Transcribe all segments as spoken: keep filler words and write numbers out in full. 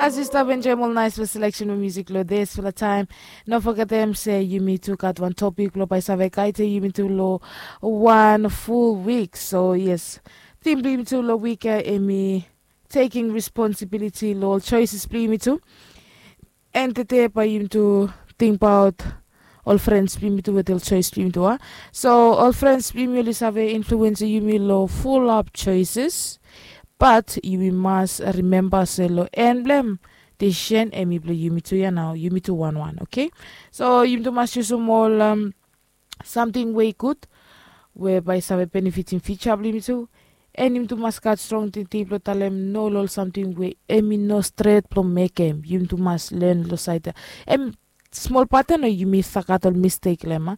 As yu stap enjoim ol naispela seleksen blong musik long disfela taim, no fogetem se yumi tu gat wan topik blong bai save gaidem yumi tu long wan ful wik. So yes, tim blong yumi tu long wik ya em i tekim responsibiliti long ol choices blong yumi tu. And tede bai yumi tu tingbaot ol frens blong yumi tu wetem ol choice blong yumi tu a. So ol frens blong yumi oli save influensim yumi long fulap choices. Bat yumi mas rimemba se long en blong em, desisen em i blong yumi tu ya nao, yumi tu wanwan, oke? So yumi tu mas yusum ol samting we i gud, we bai i save benefitim fiuja blong yumi tu. And yumi tu mas gat strong tingting blong talem no long ol samting we em i no stret blong mekem. Yumi tu mas len long saed ya. Em smol pat ya no, yumi save gat ol mistek long em a.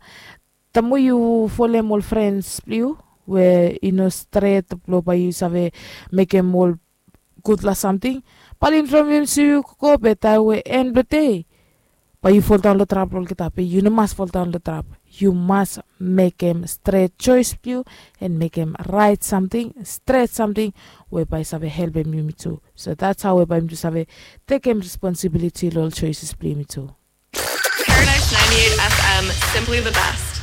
Taem we yu folem ol frens blong yu we i no stret blong bai yu save mekem ol gudfala samting, bai oli influensim yu gogo, be taem we en blong dei bai yu foldaon long trap long olgeta. Be yu no mas foldaon long trap. Yu mas mekem stret choes blong yu and mekem raet samting, stret samting we bai save helpem yumi tu. So that's how we bai yumi tu save tekem responsibiliti long ol choeses blong yumi tu. Paradise ninety-eight F M, simply the best.